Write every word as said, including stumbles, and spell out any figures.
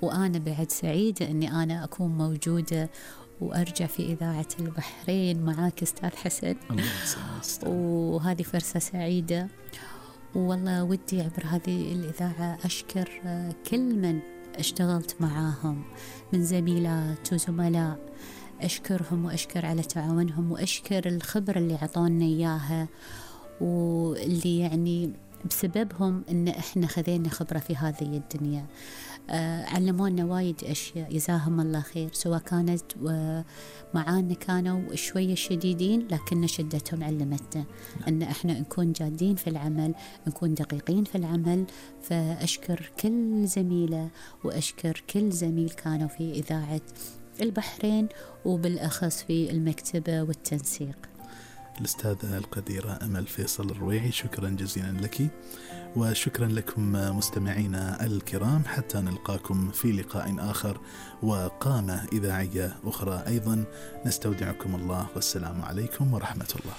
وأنا بعد سعيدة أني أنا أكون موجودة وأرجع في إذاعة البحرين معاك أستاذ حسن. الله يسلمك. وهذه فرصة سعيدة، والله ودي عبر هذه الإذاعة أشكر كل من اشتغلت معاهم من زميلات وزملاء، أشكرهم وأشكر على تعاونهم، وأشكر الخبرة اللي عطونا إياها، واللي يعني بسببهم إن إحنا خذينا خبرة في هذه الدنيا. آه علمونا وايد أشياء، جزاهم الله خير، سواء كانت معانا كانوا شوية شديدين لكن شدتهم علمتنا أن إحنا نكون جادين في العمل، نكون دقيقين في العمل. فأشكر كل زميلة وأشكر كل زميل كانوا في إذاعة البحرين، وبالأخص في المكتبة والتنسيق. الأستاذة القديرة أمل فيصل الرويعي، شكرا جزيلا لك، وشكرا لكم مستمعينا الكرام، حتى نلقاكم في لقاء آخر وقامة إذاعية أخرى أيضا. نستودعكم الله، والسلام عليكم ورحمة الله.